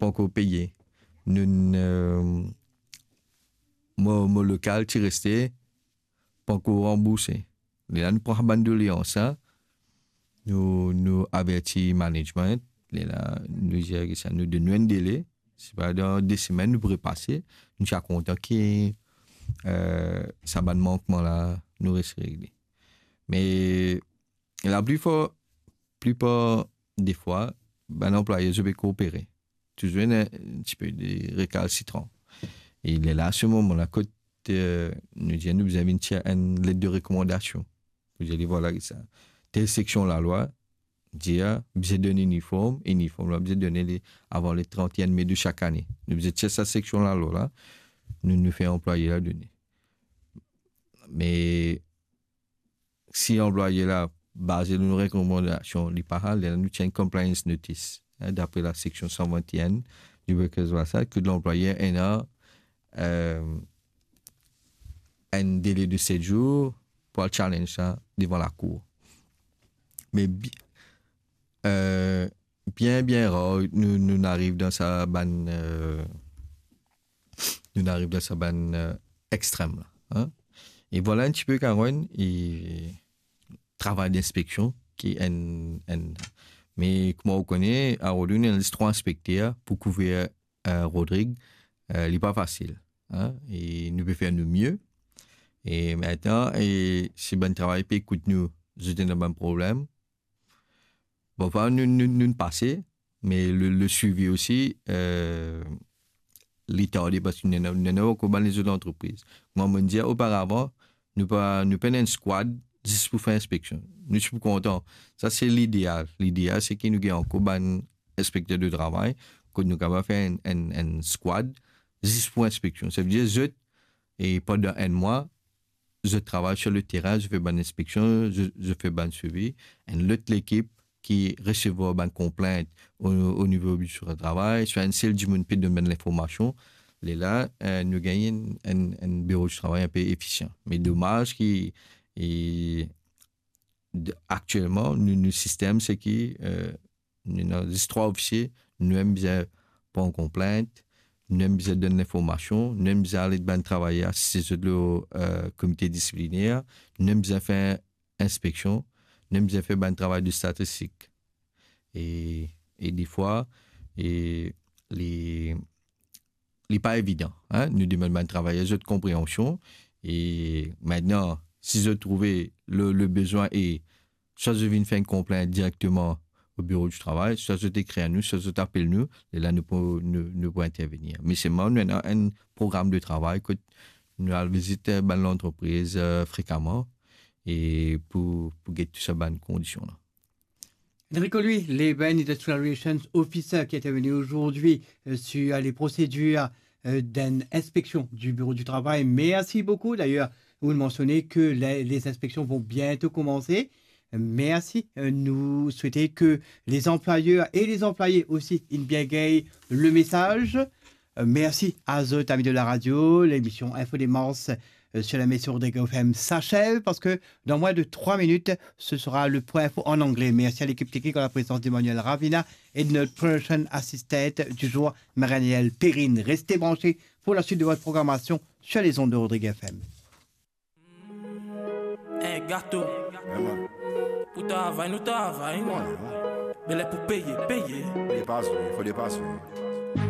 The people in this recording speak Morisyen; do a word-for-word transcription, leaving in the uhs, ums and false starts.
pankor peye. Nou, eh, mo, mo lokal ti reste, pankor ranbourse. Lerla nou pran bann doleans sa, nou, nou averti management, lerla nou dir ki sa, nou donn nou enn dele, si pa dan de semenn nou pou repase, nou ti a kontan ki, eh, sa bann mankman la, nou res regle. Me laplifar, plipar defwa, bann anplwaye, zot pe koopere. Touzour ena enn tipe de rekalsitran. E lerla, se moman la, kot, eh, nou dir nou bizin vinn tir enn let de rekomandasion. Pou dir li, vwala ki sa. Tel seksion lalwa dir bizin donn iniform, iniform la bizin donn li avan le trente et un mai de sak ane. Nou bizin tir sa seksion lalwa la, nou, nou fer anplwaye la done. Me si anplwaye la, baze lor nou rekomandasion, li pa al, lerla nou tir enn compliance notice, hein, dapre la seksion san vint et un du Workers' Rights Act, ki lanplwayer ena, eh, enn dele de set zour pou al challenge sa devan lakour. Me bi-, eh, bien, bien rar, nou, nou ariv dan sa bann, eh, nou ariv dan sa bann, eh, extrem la, hein. E vwala enn tipe, Karen, e travay dinspeksion ki enn, enn, me kouma ou kone, Harold, nou ena zis trwa inspekter pou kouver, eh, Rodrig, eh, li pa fasil, hein, e nou pe fer nou mie. E mintnan, e si bann travayer pe ekout nou, zot ena bann problem, bon, parfwa nou, nou, nou pase, me le, le swivi osi, eh, li tarde parski nou ena, nou ena ankor bann lezot lantrepriz. Kouma mo dir oparavan, nou pa, nou pena enn squad zis pou fer inspeksion. Nou ti pou kontan. Sa se lideal. Lideal, se ki nou gagn ankor bann inspekter de travay, kot nou kapav fer enn, enn, enn squad zis pou inspeksion. Savedir zot, e pandan enn mwa, zot travay sir le terin, zot fer bann inspeksion, zot, zot fer bann swivi. Enn lot lekip ki resevwar bann konplint o, o nivo biro di travay, swa enn sel dimoun pe donn bann linformasion. Lerla, eh, nou gagn enn, enn, enn biro di travay inpe efisian. Me domaz ki, e, de, aktielman, nou, nou sistem, se ki, eh, nou ena zis trwa ofisie, nou mem bizin pran konplint, nou mem bizin donn linformasion, nou mem bizin al ed bann travayer, asiste zot lor, eh, komite disipliner, nou mem bizin fer inspeksion, nou mem bizin fer bann travay de statistik. E, e defwa, e li, li pa evidan, hein. Nou demann bann travayer zot konpreansion. E mintnan, si zot trouve le, le bizin e swa zot vinn fer enn konplint direkteman o biro di travay, swa zot ekrir nou, swa zot apel nou, lerla nou pou, nou, nou pou intervenir. Me selman nou ena enn program de travay kot nou al vizit, eh, bann lantrepriz, eh, frekaman e pou, pou get tou sa bann kondision la. Enrico Louis, Labour and Industrial Relations Officer, qui intervient aujourd'hui, euh, sur les procédures, euh, d'une inspection du bureau du travail. Merci beaucoup. D'ailleurs, vous le mentionnez que les, les inspections vont bientôt commencer. Merci. Euh, nous souhaitons que les employeurs et les employés aussi, ils bien gagnent le message. Euh, merci à zot, amis de la radio. L'émission Info Démence, euh, sur la Maison de F M s'achève parce que dans moins de trois minutes, ce sera le point info en anglais. Merci à l'équipe technique en la présence d'Emmanuel Ravina et de notre production assistant du jour, Marianiel Perrine. Restez branchés pour la suite de votre programmation sur les ondes de Rodrigue F M. Hey, gato. Yeah, man. Pou travay, nou travay. Voilà. Bele pou peye, peye. Dépasse, oui, faut dépasser, oui.